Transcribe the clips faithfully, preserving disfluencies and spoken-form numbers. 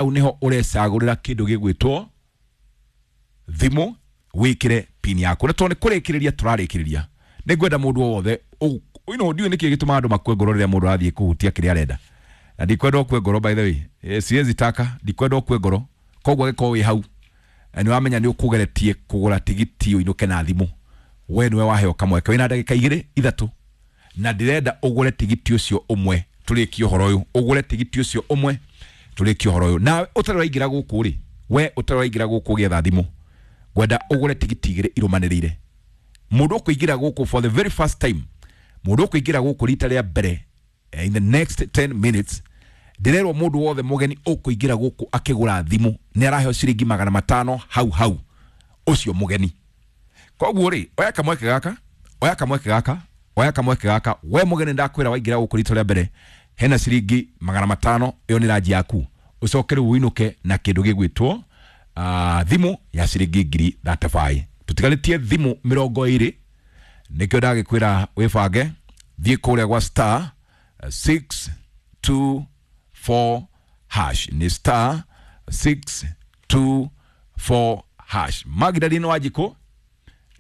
Hau niho urecagũrĩra kĩndũ gĩgwĩtwo thimũ, wĩkĩre pin yaku. Na tondũ nĩ kũrĩkĩrĩria tũrarĩkĩrĩria, nĩ ngwenda mũndũ o wothe ũ- you know, ndiũĩ nĩkĩ gĩtũmaga andũ makue ngoro rĩrĩa mũndũ arathiĩ kũhutia kĩrĩa arenda. Na ndikwenda ũkue ngoro, by the way. Eh, siwezi taka, ndikwenda ũkue ngoro. Koguo angĩkorwo wĩ hau na nĩ wamenya nĩ ũkũgeretie kũgũra tigiti ũinũke na thimũ, we nĩwe waheo kamweke, wĩna ndagĩka igĩrĩ ithatũ, na ndĩrenda ũgũre tigiti ũcio ũmwe tũrĩkie ũhoro ũyũ. Ũgũre tigiti ũcio ũmwe tũrĩkie ũhoro ũyũ. Nawe ũtarĩ waingĩra gũkũ rĩ, we ũtarĩ waingĩra gũkũ ũgĩetha thimũ, ngwenda ũgũre tigiti igĩrĩ irũmanĩrĩire. Mũndũ ũkũingĩra gũkũ for the very first time, mũndũ ũkũingĩra gũkũ rita rĩa mbere, eh, in the next ten minutes, ndĩrerwo mũndũ wothe mũgeni ũkũingĩra gũkũ akĩgũra thimũ nĩ araheo ciringi magana matano hau hau, ũcio mũgeni. Koguo rĩ, oya kamweke gaka, oya kamweke gaka, oya kamweke gaka. We mũgeni, ndakwĩra waingĩra gũkũ rita rĩa mbere, hena ciringi magana matano, ĩyo nĩ ranji yaku. Ũcoke rĩu ũinũke na kĩndũ gĩgwĩtwo uh, thimũ ya ciringi ngiri thirty-five. Tũtigarĩtie thimũ mĩrongo ĩrĩ, nĩkĩo ndagĩkwĩra wĩbange, thiĩ kũrĩa gwa star six two four hash, nĩ star six two four hash. Magdalene Wanjikũ,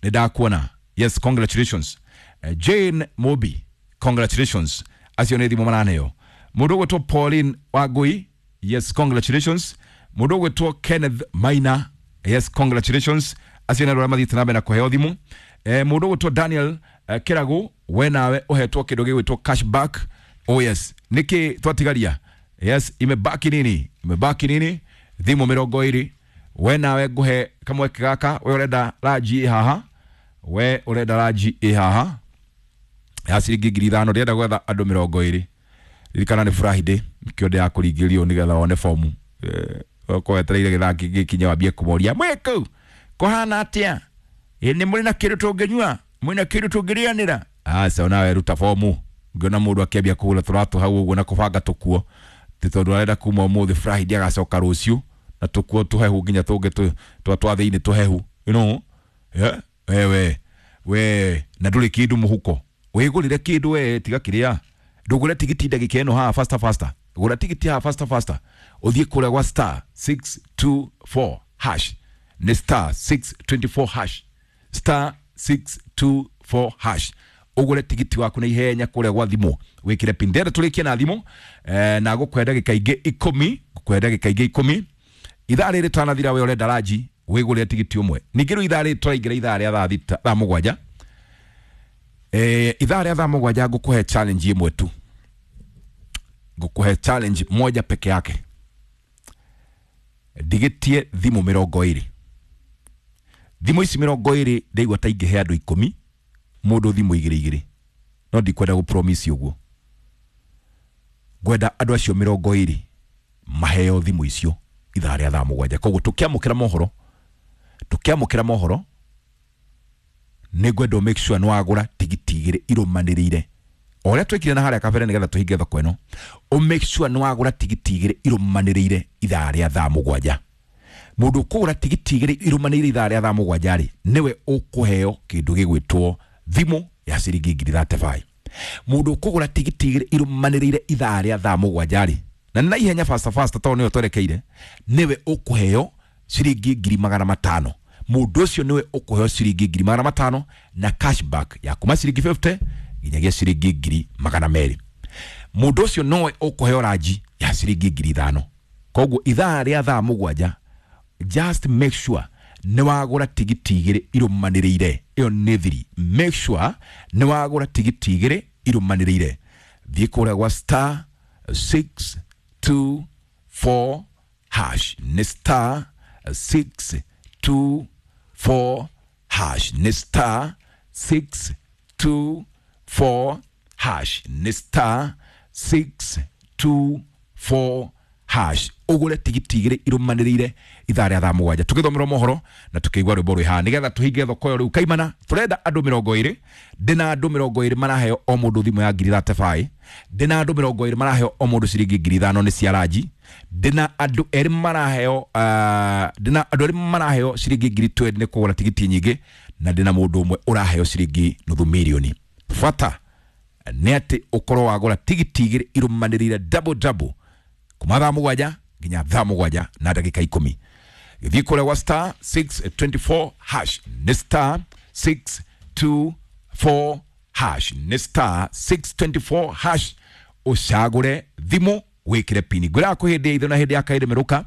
nĩ ndakuona. Yes, congratulations. uh, Jane Mobi, congratulations. Acio nĩ thimũ maraneo. Mũndũ ũgwĩtwo Pauline Wangui, yes, congratulations. Mũndũ ũgwĩtwo Kenneth Maina, yes, congratulations. Acio nĩ andũ arĩa mathiĩte na mbere na kũheo thimũ. eh, mũndũ ũgwĩtwo Daniel eh, Kĩragu, we nawe ũhetwo kĩndũ gĩgwĩtwo cashback. Oh yes, nĩkĩ twatigaria? Yes, imebaki nini? Imebaki nini? Thimũ mĩrongo ĩrĩ. We nawe ngũhe kamweke gaka. We ũrenda ranji ĩ haha, we ũrenda ranji ĩ haha ya ciringi ngiri ithano. Ndĩrenda gwetha andũ mĩrongo ĩrĩ. Ririkana nĩ Friday, nĩkĩo ndĩrakũringĩrĩrio nĩgetha wone fomu. Ũkorwo wetereire gĩthaa gĩkinye wambie kũmoria mwĩ kũu kũhana atĩa, ĩ nĩ mũrĩ na kĩndũ tũngĩnyua, mwĩ na kĩndũ tũngĩrĩanĩra? Aca, onawe ruta fomu. Ngĩona mũndũ akĩambia kũgũra tũratũ hau ũguo na kũbanga tũkuo ti tondũ arenda kuma ũmũthĩ Friday agacoka rũciũ na tũkuo tũhehu nginya tũngĩ tũ- twa twa thĩinĩ tũhehu, you know yeah? Wewe we na ndũrĩ kĩndũ mũhuko, wĩgũrĩre kĩndũ we, tiga kĩrĩa. Ndũgũre tigiti ndagĩka ĩno haha, faster faster. Gũra tigiti haha faster faster, ũthiĩ kũrĩa gwa star six two four hash, nĩ star six two four hash, star six two four hash, ũgũre tigiti waku na ihenya kũrĩa gwa thimũ, wĩkĩre pin. Ndĩrenda tũrĩkie na thimũ eh, na gũkũhe ndagĩka ingĩ ikũmi, gũkũhe ndagĩka ingĩ ikũmi. Ithaa rĩrĩ tanathira, we ũrenda ranji, wĩgũrĩre tigiti ũmwe. Ningĩ rĩu ithaa rĩrĩ tũraingĩra ithaa rĩa thaa thita, thaa mũgwanja, eh, ithaa rĩa thaa mũgwanja ngũkũhe challenge ĩmwe tu, ngũkũhe challenge moja peke yake. Ndigĩtie thimũ mĩrongo ĩrĩ. Thimũ ici mĩrongo ĩrĩ, ndaigua ta ingĩhe andũ ikũmi mũndũ thimũ igĩrĩ igĩrĩ, no ndikwenda gũ promise ũguo. Ngwenda andũ acio mĩrongo ĩrĩ maheo thimũ icio ithaa rĩa thaa mũgwanja. Koguo tũkĩamũkĩra mohoro, tũkĩamũkĩra mohoro, nĩ ngwenda ũ make sure nĩ wagũra tigiti igĩrĩ irũmanĩrĩire o ũrĩa twĩkire na harĩa kabere, nĩgetha tũhinge thoko ĩno. Ũ make sure nĩ wagũra tigiti igĩrĩ irũmanĩrĩire ithaa rĩa thaa mũgwanja. Mũndũ ũkũgũra tigiti igĩrĩ irũmanĩrĩire ithaa rĩa thaa mũgwanja rĩ, nĩwe ũkũheo kĩndũ gĩgwĩtwo thimũ ya ciringi ngiri thirty-five. Mũndũ ũkũgũra tigiti igĩrĩ irũmanĩrĩire ithaa rĩa thaa mũgwanja rĩ, na nĩ na ihenya, faster faster, tondũ nĩyo twerekeire, nĩwe ũkũheo ciringi ngiri magana matano. Mũndũ ũcio nĩwe ũkũheo ciringi ngiri magana matano na cashback ya kuma ciringi fifty nginyagia ciringi ngiri magana merĩ. Mũndũ ũcio nowe ũkũheo ranji ya ciringi ngiri ithano. Koguo ithaa rĩa thaa mũgwanja, just make sure nĩ wagũra tigiti igĩrĩ irũmanĩrĩire. Ĩyo nĩ thiri. Make sure nĩ wagũra tigiti igĩrĩ irũmanĩrĩire. Thiĩ kũrĩa gwa star six two four hash, nĩ star six two four hash, nĩ star six two four hash, nĩ star six two four hash, ũgũre tigiti igĩrĩ irũmanĩrĩire ithaa rĩa thaa mũgwanja, tũgĩthomerwo mohoro na tũkĩigua rwĩmbo rwĩ haha, nĩgetha tũhinge thoko ĩyo. Rĩu kaimana tũrenda andũ mĩrongo ĩrĩ. Ndĩna andũ mĩrongo ĩrĩ maraheo o mũndũ thimũ ya ngiri thirty-five. Ndĩna andũ mĩrongo ĩrĩ maraheo o mũndũ ciringi ngiri ithano nĩ cia ranji. Ndĩna andũ erĩ maraheo uh, ndĩna andũ erĩ maraheo ciringi ngiri twenty nĩ kũgũra tigiti nyingĩ, na ndĩna mũndũ ũmwe ũraheo ciringi nuthu mirioni. Bata nĩ atĩ ũkorwo wagũra tigiti igĩrĩ irũmanĩrĩire, double double, kuma thaa mũgwanja. nginya thaa mũgwanja na ndagĩka ikũmi. Gĩthiĩ kũrĩa gwa star six twenty four hash, nĩ star six two four hash, nĩ star six twenty four hash, ũcagũre thimũ wĩkĩre pini. Ngwĩraga kwĩ hĩndĩ ya itho na hĩndĩ ya kahĩndĩ merũka,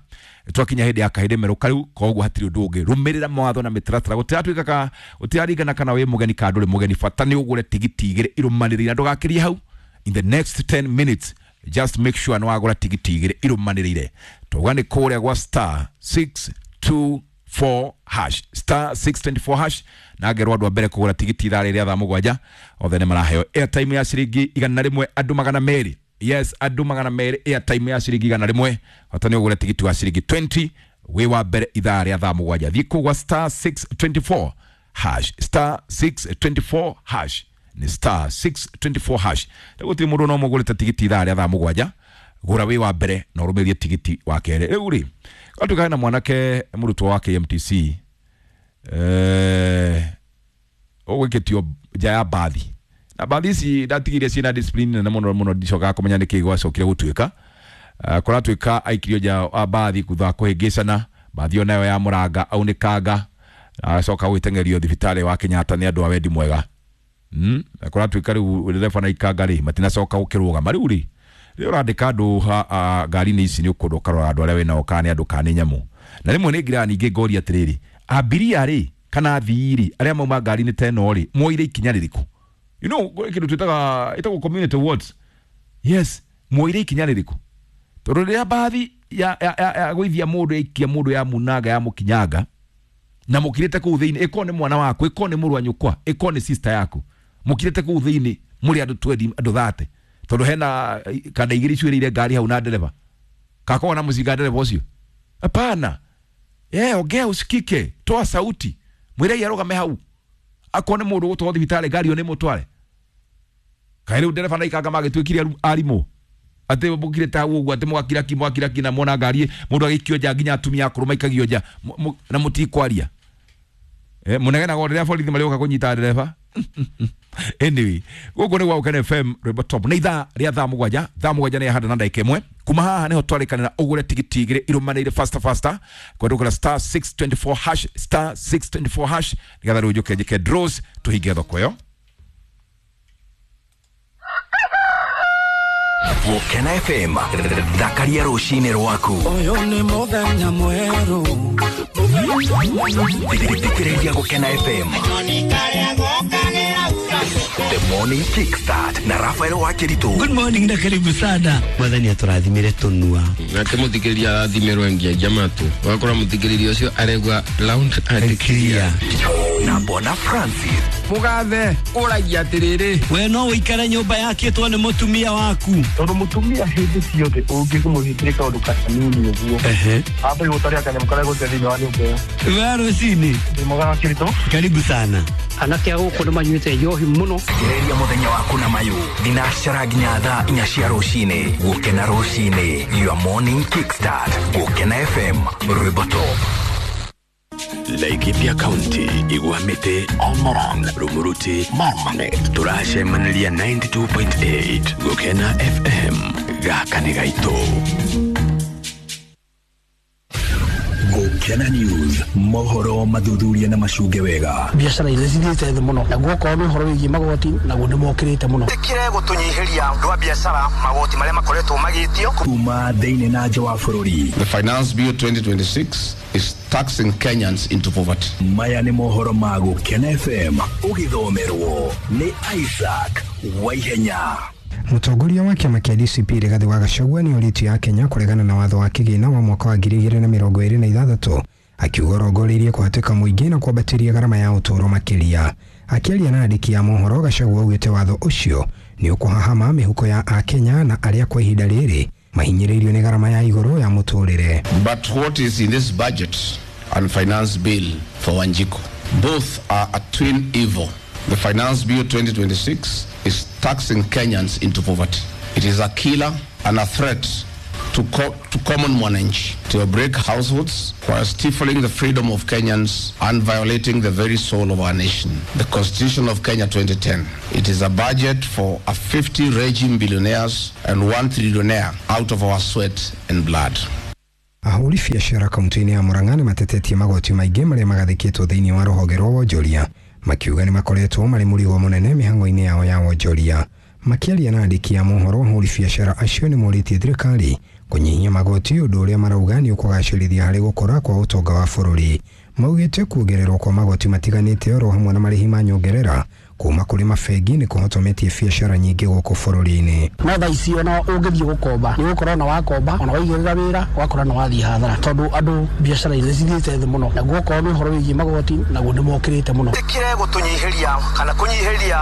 twakinya hĩndĩ ya kahĩndĩ merũka rĩu, koguo hatirĩ ũndũ ũngĩ. Rũmĩrĩra mawatho na mĩtaratara, gũtiratuĩka ka gũtiraringana kana wĩ mũgeni kana ndũrĩ mũgeni, bata nĩ ũgũre tigiti igĩrĩ irũmanĩrĩire na ndũgakĩrie hau. In the next ten minutes just make sure nĩ wagũra tigiti igĩrĩ irũmanĩrĩire. Twauga nĩ kũrĩa gwa star six two four hash, star six twenty four hash, na ngerwo andũ a mbere kũgũra tigiti ithaa rĩrĩa thaa mũgwanja othe nĩ maraheo airtime ya ciringi igana rĩmwe andũ magana merĩ. Yes, andũ magana merĩ airtime ya ciringi igana rĩmwe, bata nĩ ũgũre tigiti wa ciringi twenty wĩ wa mbere ithaa rĩa thaa mũgwanja. Thiĩ kũu gwa star six twenty four hash, star six twenty four hash, nĩ star six twenty four hash. Rĩu gũtirĩ mũndũ no mũgũrĩte tigiti ithaa rĩa thaa mũgwanja, gũra wĩ wa mbere na ũrũmĩrĩrie tigiti wa kerĩ. Rĩu rĩ, gwatuĩka hena mwanake mũrutwo wa K M T C eh, ũgwĩkĩtio nja ya mbathi, na mbathi ici ndatigire ciĩna discipline nene mũno mũno, ndicokaga kũmenya nĩkĩ gwacokire gũtuĩka. Uh, kũratuĩka aikirio nja ya mbathi thutha wa kũhĩngĩcana, mbathi ĩyo nayo ya mũranga aunĩkanga, acoka gwĩteng'erio thibitarĩ wa Kenyatta nĩ andũ a wendi mwega. Mm, kũratuĩka rĩu ndereba na ikanga rĩ matinacoka gũkĩrũgama. Rĩu rĩ, rĩrĩa ũrandĩka andũ ngari-inĩ ici nĩ ũkũndũ ũkarora andũ arĩa wĩnao kana nĩ andũ kana nĩ nyamũ. Na rĩmwe nĩ ngiraga ningĩ ngoria atĩrĩrĩ, abiria rĩ kana athii rĩ arĩa mauma ngari-inĩ ta ĩno rĩ moire ikinya rĩrĩkũ? You know, kĩndũ twĩtaga ĩtagwo community wards. Yes, moire ikinya rĩrĩkũ? Tondũ rĩrĩa mbathi ya ya ya gũithia mũndũ yaikia mũndũ ya munanga ya mũkinyanga na mũkirĩte kũu thĩinĩ, ĩkorwo nĩ mwana waku, ĩkorwo nĩ mũrũ wa nyũkwa, ĩkorwo nĩ sister yaku, mũkirĩte kũu thĩinĩ mũrĩ andũ twendi andũ thate, tondũ hena kanda igĩrĩ icuĩrĩire ngari hau na ndereba kakorwo na mũcinga ndereba ũcio. Hapana, eh, ongea usikike, toa sauti, mwĩre arũgame hau, akorwo nĩ mũndũ ũgũtwarwo thibitarĩ ngari ĩyo nĩ mũtware. Kaĩ rĩu ndereba na ikanga magĩtuĩkire arimũ atĩ mũkirĩte hau ũguo atĩ mũgakira ki mũgakira ki na mwona ngari mũndũ agĩikio nja nginya atumia akũrũ maikagio nja na mũtikwaria. Eh, mũnegenaga o rĩrĩa borithi marĩũka kũnyita ndereba. Anyway, gũkũ nĩ gwa Gũkena F M rwĩmbo top nĩ ithaa rĩa thaa mũgwanja, thaa mũgwanja nĩ handa na ndagĩka ĩmwe. Kuma haha nĩho twarĩkanĩra ũgũre tigiti igĩrĩ irũmanĩire faster faster kwendũkĩra star six twenty four hash, star six twenty four hash, nĩgetha rĩu njũke njĩke draws tũhinge thoko ĩyo. Gũkena F M thakaria rũcinĩ rwaku. Ũyũ nĩ mũthenya mwerũ. Thikĩrĩria Gũkena F M. The Morning Kickstart na Rafael Wakiritu. Good morning na karibu sana. Mwathani atũrathimire tũnua. Nake mũthikĩrĩria arathimirwo nginya matũ. Wakora mũthikĩrĩria ũcio aregwa loud and clear. Na Bona Francis. Mugathe ũragia atĩrĩrĩ. We no ũikare nyũmba yakĩtwo nĩ mũtumia waku. Tondũ mũtumia hĩndĩ ciothe ũngĩmũhingĩre kaũndũ kanini ũguo. Ehe. Amba gũtarĩa kanyamũ karĩa gũte thĩinĩ wa nyũmba ĩyo. We rũcinĩ. Ndĩ mwega Wakiritu. Karibu sana. Anake a gũkũ nĩ manyuĩte njohi mũno. Gereria mũthenya waku na mayũ thinacara nginya thaa inya cia rũcinĩ. Gũkena rũcinĩ, your morning kickstart. Gũkena F M rwĩmbo top. Laikipia County, Igwamite, Olmoron, Rumuruti, Marmanet, turacemaniria ninety two point eight Gũkena F M gaka nĩ gaitũ. Gũkena News, mohoro mathuthuria na macunge wega. Biacara iria cithiĩte thĩ mũno, naguo okorwo nĩ ũhoro wĩgiĩ magoti naguo nĩ mokĩrĩte mũno. Tĩkire gũtũnyihĩria andũ a biacara magoti marĩa makoretwo magĩtio kuma thĩinĩ na nja wa bũrũri. The Finance Bill twenty twenty six is taxing Kenyans into poverty. Maya nĩ mohoro ma Gũkena F M ũgĩthomerwo nĩ Isaac Waihenya. Mũtongoria wa kĩama kĩa D C P Rigathĩ wa Gachagua nĩ orĩtie a Kenya kũregana na watho wa kĩgĩna wa mwaka wa ngiri igĩrĩ na mĩrongo ĩrĩ na ithathatũ, akiuga ũrongoreirie kũhatĩka mũingĩ na kwambatĩria gharama ya ũtũũro makĩria. Akĩaria na andĩki a mohoro, Gachagua augĩte watho ũcio nĩ ũkũhahama mĩhuko ya Akenya na arĩa kwa ihinda rĩrĩ mahinyĩrĩirio nĩ gharama ya igũrũ ya mũtũrĩre. But what is in this budget and finance bill for Wanjiku? Both are a twin evil. The Finance Bill twenty twenty six is taxing Kenyans into poverty. It is a killer and a threat to, co to common mwananchi, to break households while stifling the freedom of Kenyans and violating the very soul of our nation. The Constitution of Kenya twenty ten. It is a budget for a fifty regime billionaires and one trillionaire out of our sweat and blood. Ahũri biacara kaunti-inĩ ya Murang'a nĩ matetetie magoti maingĩ marĩa magathĩkĩtwo thĩinĩ wa rũhonge rwa wonjoria, makiuga nĩ makoretwo marĩ mũrigo mũnene mĩhang'o-inĩ yao ya wonjoria. Makĩaria na andĩki a mohoro, ahũri biacara acio nĩ morĩtie thirikari kũnyihia magoti, ũndũ ũrĩa marauga nĩ ũkũgacĩrithia harĩ gũkũra kwa ũtonga wa bũrũri. Maugĩte kuongererwo kwa magoti matiganĩte oro hamwe na marĩhi ma nyongerera kuma kũrĩ mabengi nĩ kũhotometie biacara nyingĩ gũkũ bũrũri-inĩ. No thaa ici ona ũngĩthiĩ gũkomba nĩ ũgũkorwo na wakomba ona waigĩrĩra wĩra ũgakora na wathiĩ hathara, tondũ andũ biacara nĩ cithiĩte thĩ mũno, naguo okorwo nĩ ũhoro wĩgiĩ magoti naguo nĩ mokĩrĩte mũno. Tikire gũtũnyihĩria kana kũnyihĩria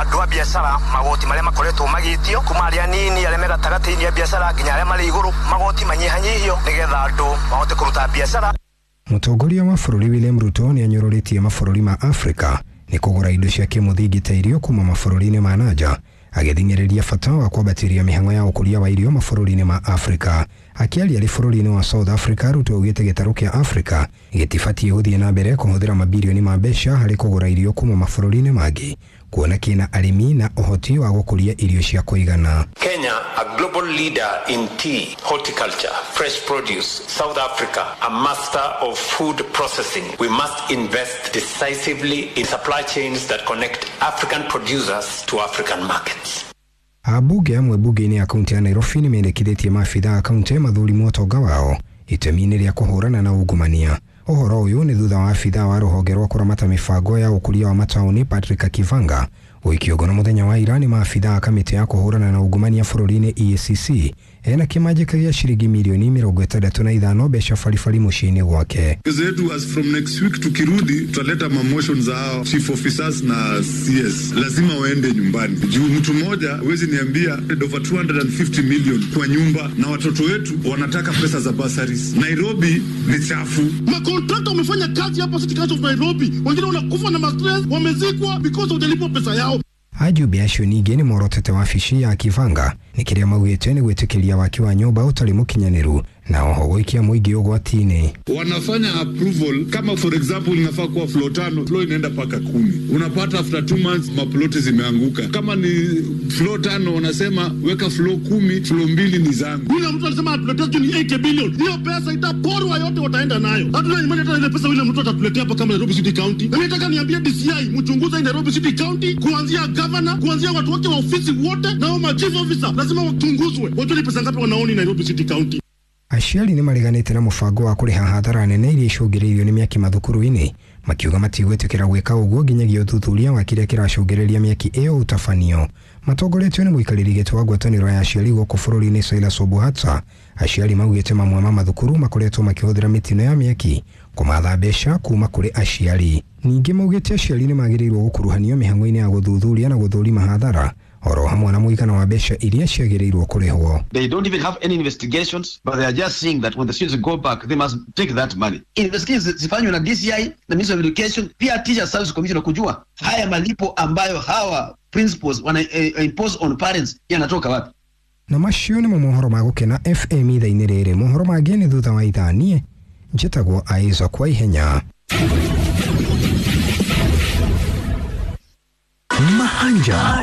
andũ a biacara magoti marĩa makoretwo magĩtio kuma arĩa nini arĩa me gatagatĩ-inĩ a biacara nginya arĩa marĩ igũrũ, magoti manyihanyihio nĩgetha andũ mahote kũruta biacara. Mũtongoria wa bũrũri William Ruto nĩ anyũrũrĩtie mabũrũri ma Afrika nĩ kũgũra indo cia kĩmũthingi ta irio kuma mabũrũri-inĩ ma nanja, agĩthing'ĩrĩria bata wa kwambatĩria mĩhang'o ya ũkũria wa irio mabũrũri-inĩ ma Afrika. Akĩaria arĩ bũrũri-inĩ wa South Africa, Ruto augĩte gĩtarũ kĩa Afrika gĩtibatiĩ gũthiĩ na mbere kũhũthĩra mabirioni ma mbeca harĩ kũgũra irio kuma mabũrũri-inĩ mangĩ, kuona kĩna arĩmi na ũhoti wa gũkũria irio cia kũigana. Kenya, a global leader in tea, horticulture, fresh produce. South Africa, a master of food processing. We must invest decisively in supply chains that connect African producers to African markets. Ambunge amwe bunge-inĩ ya kaunti ya Nairobi nĩ mendekithĩtie maabitha a kaunti mathurimwo ũtonga wao itemi-inĩ rĩa kũhũrana na ungumania. Ũhoro ũyũ nĩ thutha wa abitha wa rũhonge rwa kũramata mĩbango ya ũkũria wa mataũni Patrick Kivanga gũikio ngono mũthenya wa ira nĩ maabitha a kamĩtĩ ya kũhũrana na ungumania bũrũri-inĩ E A C C ena kĩmanjĩka gĩa ciringi milioni mĩrongo ĩtandatũ na ithano mbeca baribari mũciĩ-inĩ gwake. Zetu as from next week tukirudi tutaleta mamotion za hao chief officers na C S, lazima waende nyumbani. Juu mtu mmoja huwezi niambia over two hundred fifty million kwa nyumba, na watoto wetu wanataka pesa za bursaries. Nairobi ni chafu. Makontrakta wamefanya kazi hapa City Council of Nairobi, wengine wanakufa na mastress, wamezikwa because hujalipwa pesa yao. Ajumbe acio ningĩ nĩ morotete wabici ya Kivanga nĩ kĩrĩa maugĩte nĩ gwĩtĩkĩria waki wa nyũmba ũtarĩ mũkinyanĩru na oho gũikia mũingĩ ũgwati-inĩ. Wanafanya approval kama for example inafaa kuwa floor tano, floor inaenda paka kumi. Unapata after two months maploti zimeanguka. Kama ni floor tano wanasema weka floor kumi, floor mbili ni zangu. Yule mtu alisema atuletee ni eighty billion. Hiyo pesa itaporwa yote, wataenda nayo. Hatuna imani hata ile pesa yule mtu atatuletea hapa kama Nairobi City County. Na nataka niambie D C I mchunguze Nairobi City County kuanzia governor, kuanzia watu wake wa ofisi wote na wa chief officer lazima wachunguzwe. Wajue ni pesa ngapi wanaoni Nairobi City County. Aciari nĩ mareganĩte na mũbango wa kũrĩha hathara nene iria icũngĩrĩirio nĩ mĩaki mathukuru-inĩ, makiuga matigwĩtĩkĩra gwĩka ũguo nginyagia ũthuthuria wa kĩrĩa kĩracũngĩrĩria mĩaki ĩyo ũtabanio. Matongoretio nĩ mũikarĩri gĩtĩ wa ngwatanĩro ya aciari gũkũ bũrũri-inĩ Silas Obuhata, aciari maugĩte mamwe ma mathukuru makoretwo makĩhũthĩra mĩtino ya mĩaki kũmatha mbeca kuma kũrĩ aciari. Ningĩ maugĩte aciari nĩ magĩrĩirwo gũkuruhanio mĩhang'o-inĩ ya gũthuthuria na gũthũrima hathara oro hamwe na mũigana wa mbeca iria ciagĩrĩirwo kũrĩhwo. They don't even have any investigations, but they are just saying that when the students go back, they must take that money. Investigations zifanywe na D C I na Ministry of Education, pia Teacher Service Commission kujua haya malipo ambayo hawa principals wana eh, impose on parents yanatoka wapi. Na macio nĩmo mohoro ma Gũkena F M ithaa-inĩ rĩrĩ. Mohoro mangĩ nĩ thutha wa ithaa. Niĩ njĩtagwo Isaac kwa ihenya. Mahanja.